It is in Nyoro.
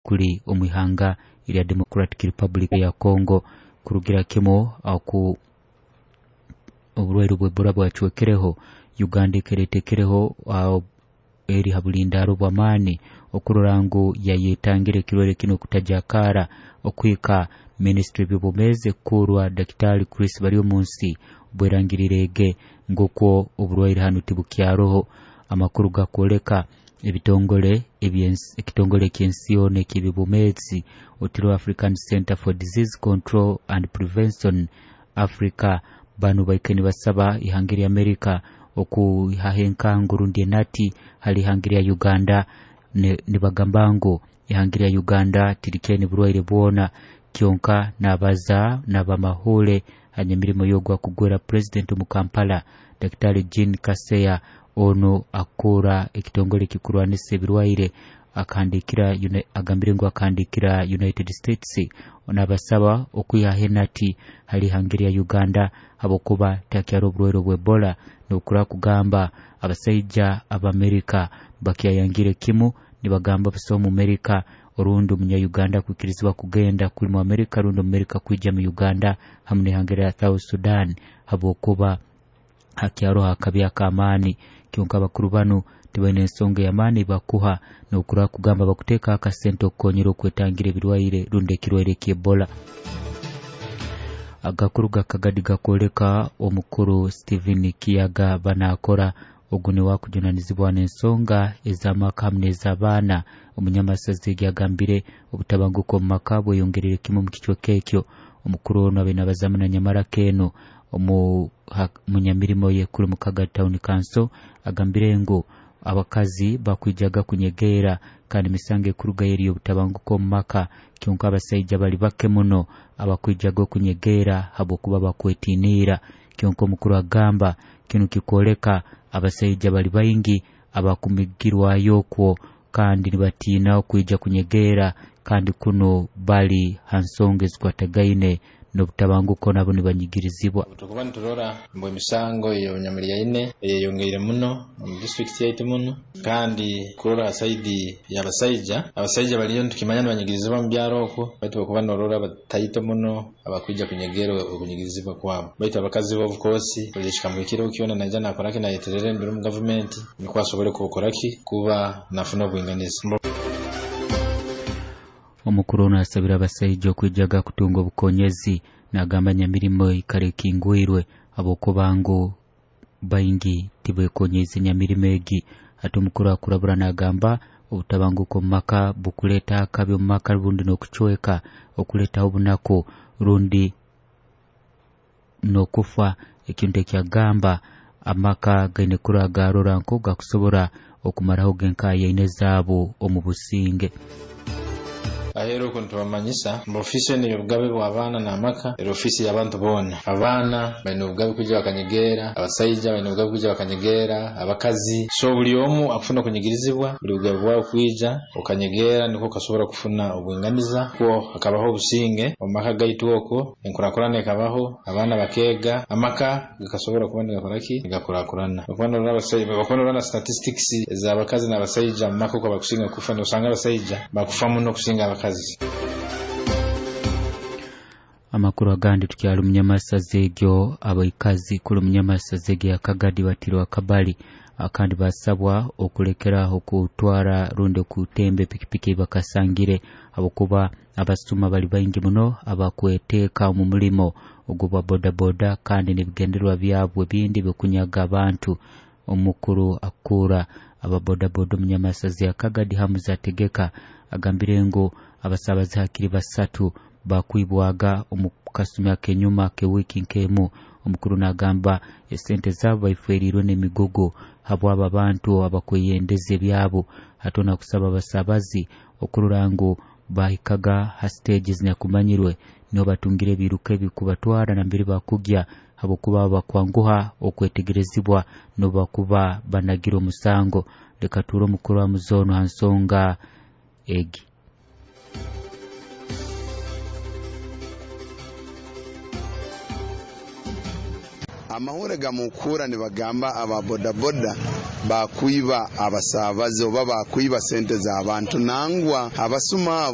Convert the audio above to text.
Enyakuli omu ihanga erya Democratic Republic ya Congo. Kurugira kimu aku oburwaire bw'Ebola bwacwekereho, Uganda ekeretekereho eri ha bulindaro bw'amaani okurora ngu yayetangira ekirwaire kinu okutajakara okuhika Ministry by'obwomeezi kurwa Daktari Chris Baryomunsi bwerangirireege ng'okwo oburwaire hanu tibukyaroho. Amakuru gakwoleka ebitongole ekitongole eky'ensi yoona eky'ebyobwomeezi otiro African Center for Disease Control and Prevention Africa, banu baike nibasaba ihanga erya Amerika okuihaho enkangu rundi enati hali ihanga erya Uganda. Nibagamba ngu ihanga erya Uganda tirikyene burwaire bwona, kyonka nabaza n'abamahule hanyamirimo yogwa kugwera president omu Kampala Daktari Jean Kaseya. Ono akura ekitongole kikurwanisa ebirwaire akahandikira agambire ngu akahandikira United States nabasaba okwihaho enati hali ihanga erya Uganda habwokuba takyara oburwaire bw'Ebola. Nokura kugamba abasaija ab'Amerika bakyayangire kimu, nibagamba busa omu Amerika orundi omunya-Uganda kwikirizibwa kugenda kuli mu Amerika rundi omu Amerika kwija mu Uganda hamu n'ihanga erya South Sudan habwokuba hakyaroho akabi ak'amaani. Kyonka abakuru banu tibaine ensonga y'amaani bakuha nokura kugamba bakuteeka akasente okukonyera okwetangira ebirwaire rundi ekirwaire ky'Ebola. Agakuru gakagadi gakwoleka omukuru Stephen Kiyaga banakora ogu niwe akujunanizibwa n'ensonga ez'amaka hamu n'ez'abaana. Omunyamasazi egi agambire obutabanguko omu maka bweyongerere kimu omu kicweka ekyo. Omukuru ono abe nabazamu na Nyamaraka eno omunyamirimo ye kuri Mukaga Town Council agambire ngu abakazi bakwijaga kunyegeera kandi emisango ekuruga eri obutabanguko omu maka, kyonka abasaija bali bake muno abakwijaga okunyegeera habwokuba bakwetiniira. Kyonka omukuru agamba kinu kikwoleka abasaija bali baingi abakumigirwayo okwo kandi nibatiina okwija kunyegeera, kandi kuno bali ha nsonga ezikwatagaine n'obutabanguko nabo nibanyigirizibwa. Tukuba niturora mbu emisango ey'obunyamuryaine eyeyongeire muno omu disitulikiti yaitu muno, kandi kurora ha saidi y'abasaija, abasaija baliyo nitukimanya nibanyigirizibwa mu byaro okwo, baitu bakuba norora bataito muno abakwija kunyegeera okunyigirizibwa kwabo. Baitu abakazi bo of course buli ekikamuhikireho kyona naija nakoraki nayeterera enduru mu gavumenti nikwo asobole kukoraki kuba nafuna obwinganiza. Omukuru ono asabira abasaija okwijaga kutunga obukonyezi, nagamba nyamirimo ikara ekingwirwe habwokuba ngu baingi tibekonyeize nyamirimo egi. Hati omukuru akurabura nagamba obutabanguko omu maka bukuleeta akabi omu maka rundi n'okucweka, okuleetaho obunaku rundi n'okufa. Ekintu ekyagamba amaka gaine kurora garora nko gakusobora okumaraho genkayaine zaabo omu businge. Ahero okwo nitubamanyisa mbu ofiisi eno ey'obugabe bw'abaana n'amaka eri ofiisi y'abantu boona. Abaana baine obugabe kwija bakanyegeera, abasaija baine obugabe kwija bakanyegeera, abakazi. So buli omu akufuna okunyigirizibwa, buli bugabe bwawe kwija okanyegeera nikwo okasobora kufuna obwinganiza, kwo hakabaho obusinge omu maka gaitu okwo, enkurakurana ekabaho, abaana bakeega, amaka gakasobora kuba nigakoraki nigakurakurana. Okuba norora abasaija, okuba norora na statistics ez'abakazi n'abasaija mu maka okwo bakusinga kufa, nosanga abasaija bakufa muno kusinga abakazi. Amakuru agandi tukyali munyamasazi egyo, abaikazi kuli munyamasazi egyo ya Kagadi batirwe akabali kandi basabwa okulekeraho okutwara rundi okutemba epikipiki bakasangire habwokuba abasuma bali baingi muno abakweteeka omu mulimo ogw'obwa bodaboda kandi n'ebigendererwa byabwe bindi byokunyaga abantu. Omukuru akura ababodaboda omunyamasazi ya Kagadi Hamuza Tegeka agambire ngu abasabazi hakiri basatu bakwibwaga omu kasumi ak'enyuma k'ewiiki nk'emu. Omukuru nagamba esente zaabo baiferiirwe n'emigugu habw'abo abantu abakweyendeza ebyabo. Hati nakusaba abasabazi okurora ngu bahikaga ha stage zinyakumanyirwe niho batungire ebiruka ebikubatwara nambere bakugya habwokuba bakwanguha okwetegerezibwa nobakuba banagira omusango. Leka ture omukuru wa muzono ha nsonga egi. Amahure gamukura nibagamba aba bodaboda bakwiba abasabazi oba bakwiba sente z'abantu nangwa abasuma.